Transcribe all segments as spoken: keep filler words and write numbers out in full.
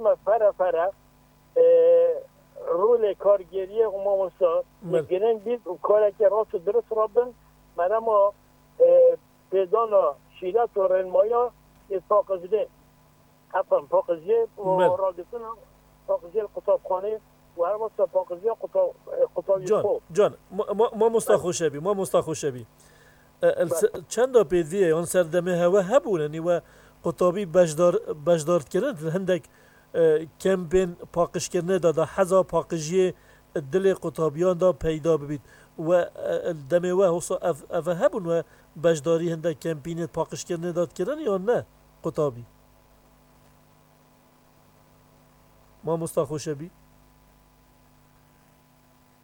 me fere fere, e, rolê kargêriyê û mamosta, Belê. Giring bît û karekê rast û dirust rabin, merema, e, pêdana şîret û rênmaya ê paqijinê. Efendim, paqijiyê û Belê. Ragirtina paqijiyê li qutabxanê û her wesa paqijiya quta-, e, qutabiyê Can, xwe. Can, ma-, ma-, mamosta Belê. Xoşebî, mamosta Xoşebî. E, el Belê. se-, çenda pêdiviyê yan serdemê hewe hebûne, nî we qutabî beşdar-, beşdar dikirin, hindek, e, kempên paqijkirinê de, de heza paqijiyê dilê qutabiyan de peyda bibît. We, e, el demê we hosa ev, ev hebûn we beşdarî hindek kempînê paqijkirinê de dikirin yan ne? Qutabî. Mamosta Xoşebî.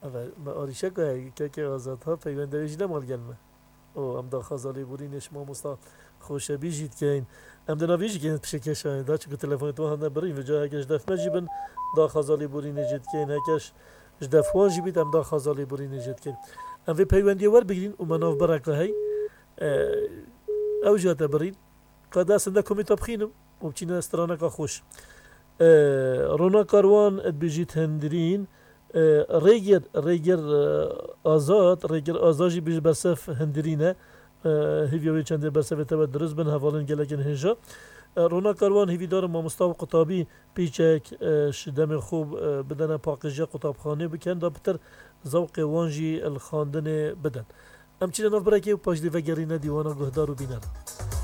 Eve, me arîşeka heye, kekê Azad ha, peywende wê jî nema li gel me. O, em daxwaza lêborînê ji mamosta Xoşebî jî dikeyin. Em di navê jî keyin pişekeşanê da, çunku telefonê wan hene birîn, vêca heke ji def me jî bin, daxwaza lêborînê jî dikeyin, heke ji, ji def wan jî bît, em daxwaza lêborînê jî dikeyin. Em vê peywendiyê werbigirîn û me navbereka hey, e, ew jî hate birîn. Ka dest hinde komê te bixînim û biçîne straneka xweş. E, Rona Karwan dibêjît hundirîn, e, Rêger, Rêger, e, Azad, Rêger Azad jî bêjî bersev hundirîn e. E, hêviya wê çendê bersevê te we dirust bin, hevalên gelekên hêja. E, Rona Karwan hêvîdar in mamosta û qutabî pîçek, e, ji demê xwe, e, bidene paqijiya qutabxanê bikin, da pitir zewqê wan jî li xandinê bidin. Em çîne nav birekê û paşdî vegerîne dîwana guhdar û bîneran.